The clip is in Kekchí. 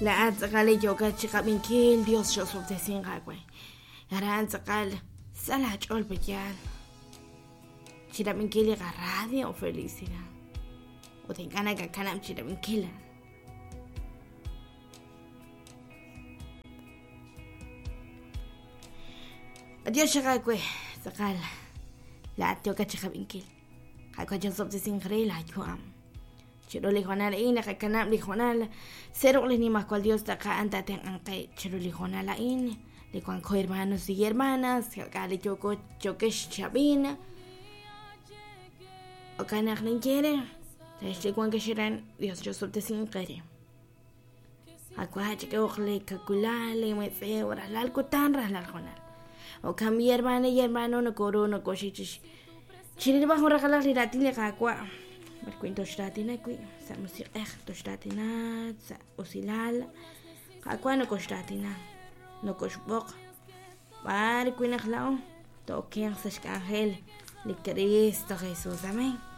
Laa'at tz'aqal li yookat chiqab'inkil, Dios x'osob'tesinq aawe. Aran tz'aqal sa laach'ool pe'yaal chirab'inkil li qaradio Felicidad. Ut ink'a' nakakanab' chirab'inkil. Adiós xaq aawe, tz'aqal laa'at yookat chiqab'inkil. Qaawa' cha'osob'tesinq re laayu'am. Chiru li hoonal a'in naqakanab' li hoonal sa' ruq' li Nimajwal Dios taq a'an taatenq'anq qe chiru li hoonal a'in. Li wanko hermanos y hermanas, k'a' li yooko yookex chi ab'in. Jo'kan naq ninye eere, rex li wankex aran, Dios cha'osob'tesinq eere. Qaawa' chak'ehoq li kawilal, li metz'ew, rajlal kutan, rajlal hoonal. Jo'kan mi hermana y hermano nokoru nokoxik chix chirilb'al jun raqalaq li raatin li Qaawa' b'ar wi' toxraatina wi' sa' musiq'ej toxraatina sa' usilal Qaawa' nokoxraatina nokoxb'oq b'ar wi' naq laa'o to'okenq sa' xk'anjel li Kristo Jesus. Amén.